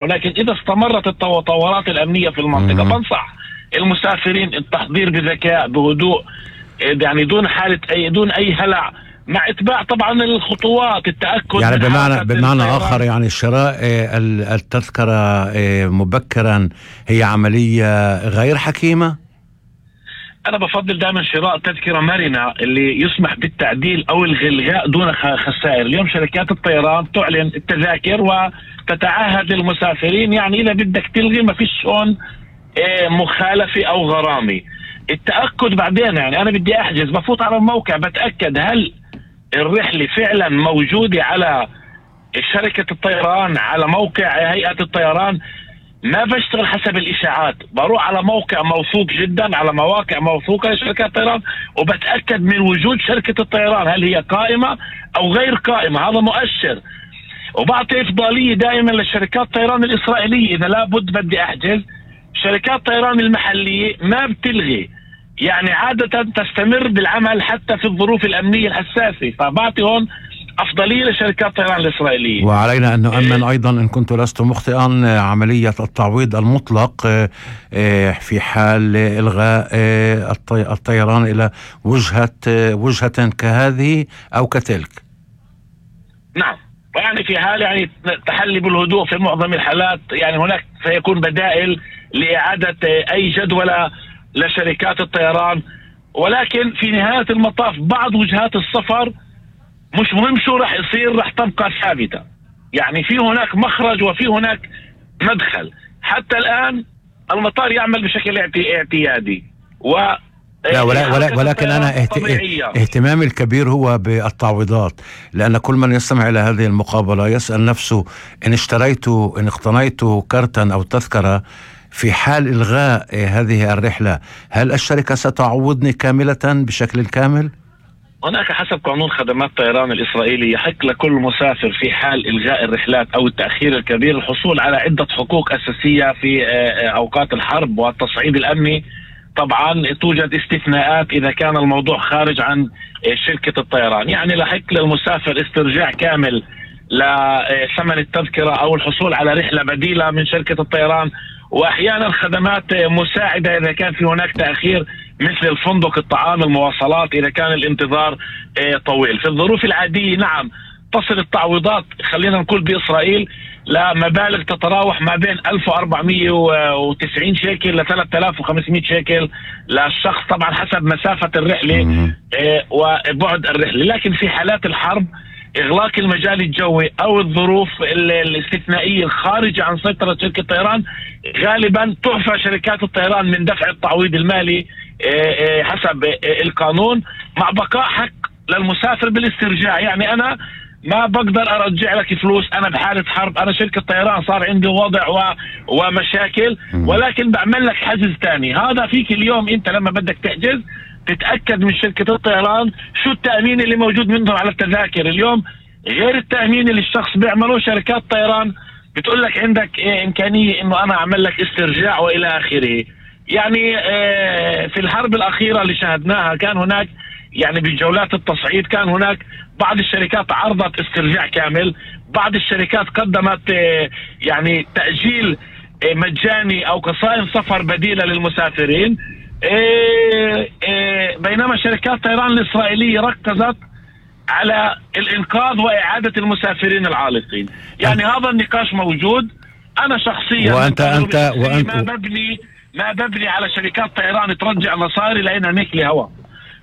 ولكن إذا استمرت التطورات الأمنية في المنطقة بنصح المسافرين التحضير بذكاء بهدوء، يعني دون أي هلع، مع اتباع طبعا الخطوات، التأكد يعني من بمعنى آخر يعني شراء التذكرة مبكرا هي عملية غير حكيمة. أنا بفضل دائما شراء تذكرة مرنة اللي يسمح بالتعديل أو الغاء دون خسائر. اليوم شركات الطيران تعلن التذاكر وتتعهد للمسافرين، يعني إذا بدك تلغي ما فيش هون مخالفة أو غرامة. التأكد بعدين، يعني أنا بدي أحجز بفوت على الموقع بتأكد هل الرحلة فعلا موجودة على شركة الطيران، على موقع هيئة الطيران. ما بشتغل حسب الإشاعات، بروح على موقع موثوق جدا، على مواقع موثوقة لشركات الطيران، وبتأكد من وجود شركة الطيران هل هي قائمة أو غير قائمة. هذا مؤشر. وبعطي إفضالية دائما للشركات الطيران الإسرائيلية إذا لابد بدي أحجز. شركات الطيران المحلية ما بتلغي، يعني عادة تستمر بالعمل حتى في الظروف الأمنية الحساسة، فبعطي هون أفضلية لشركات الطيران الإسرائيلية. وعلينا أن نؤمن أيضا إن كنت لست مخطئا عملية التعويض المطلق في حال إلغاء الطيران إلى وجهة كهذه أو كتلك. نعم، يعني في حال يعني تحلي بالهدوء في معظم الحالات، يعني هناك سيكون بدائل لإعادة أي جدولة لشركات الطيران. ولكن في نهاية المطاف بعض وجهات السفر مش مهم شو رح يصير، رح تبقى ثابتة. يعني في هناك مخرج وفي هناك مدخل. حتى الآن المطار يعمل بشكل اعتيادي ولكن أنا اهتمامي الكبير هو بالتعويضات، لأن كل من يستمع إلى هذه المقابلة يسأل نفسه إن اقتنيت كارتا أو تذكرة في حال إلغاء هذه الرحلة، هل الشركة ستعوضني كاملة بشكل كامل؟ هناك حسب قانون خدمات الطيران الإسرائيلي يحق لكل مسافر في حال إلغاء الرحلات أو التأخير الكبير الحصول على عدة حقوق أساسية في أوقات الحرب والتصعيد الأمني. طبعا توجد استثناءات إذا كان الموضوع خارج عن شركة الطيران، يعني لحق للمسافر استرجاع كامل لثمن التذكرة أو الحصول على رحلة بديلة من شركة الطيران، وأحيانا خدمات مساعدة إذا كان في هناك تأخير مثل الفندق، الطعام، المواصلات إذا كان الانتظار طويل. في الظروف العادية نعم تصل التعويضات، خلينا نقول بإسرائيل، لمبالغ تتراوح ما بين 1490 شيكل ل 3500 شيكل للشخص، طبعا حسب مسافة الرحلة وبعد الرحلة. لكن في حالات الحرب، إغلاق المجال الجوي أو الظروف الاستثنائية الخارجة عن سيطرة شركة الطيران، غالبا تعفى شركات الطيران من دفع التعويض المالي حسب القانون، مع بقاء حق للمسافر بالاسترجاع. يعني أنا ما بقدر أرجع لك فلوس، أنا بحالة حرب، أنا شركة طيران صار عندي وضع ومشاكل، ولكن بعمل لك حجز تاني. هذا فيك اليوم أنت لما بدك تحجز تتأكد من شركة الطيران شو التأمين اللي موجود منهم على التذاكر. اليوم غير التأمين اللي الشخص بيعمله، شركات الطيران بتقول لك عندك إمكانية إنه أنا أعمل لك استرجاع وإلى آخره. يعني في الحرب الأخيرة اللي شاهدناها كان هناك، يعني بالجولات التصعيد كان هناك بعض الشركات عرضت استرجاع كامل، بعض الشركات قدمت يعني تأجيل مجاني أو قصائم سفر بديلة للمسافرين، بينما شركات الطيران الإسرائيلية ركزت على الإنقاذ وإعادة المسافرين العالقين. يعني هذا النقاش موجود. أنا شخصيا وأنت ما ببني على شركات طيران ترجع مصاري لأنها نكلي هوا.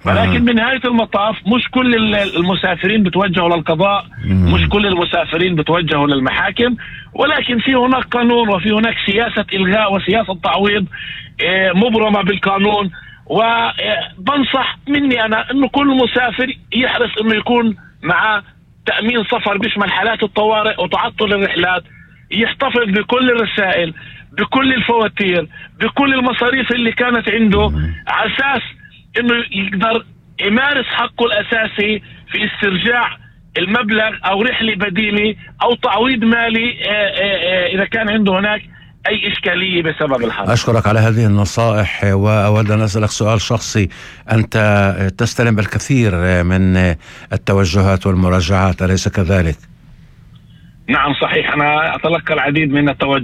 ولكن بنهاية المطاف مش كل المسافرين بتوجهوا للقضاء، مش كل المسافرين بتوجهوا للمحاكم، ولكن في هناك قانون وفي هناك سياسة إلغاء وسياسة تعويض مبرمة بالقانون. وبنصح مني أنا أنه كل مسافر يحرص أنه يكون مع تأمين سفر بيشمل حالات الطوارئ وتعطل الرحلات، يحتفظ بكل الرسائل، بكل الفواتير، بكل المصاريف اللي كانت عنده، على أساس انه يقدر يمارس حقه الاساسي في استرجاع المبلغ او رحلة بديلة او تعويض مالي اذا كان عنده هناك اي اشكالية بسبب الحرب. اشكرك على هذه النصائح، واود ان اسالك سؤال شخصي. انت تستلم الكثير من التوجهات والمراجعات، اليس كذلك؟ نعم صحيح، أنا أتلقى العديد من التوجهات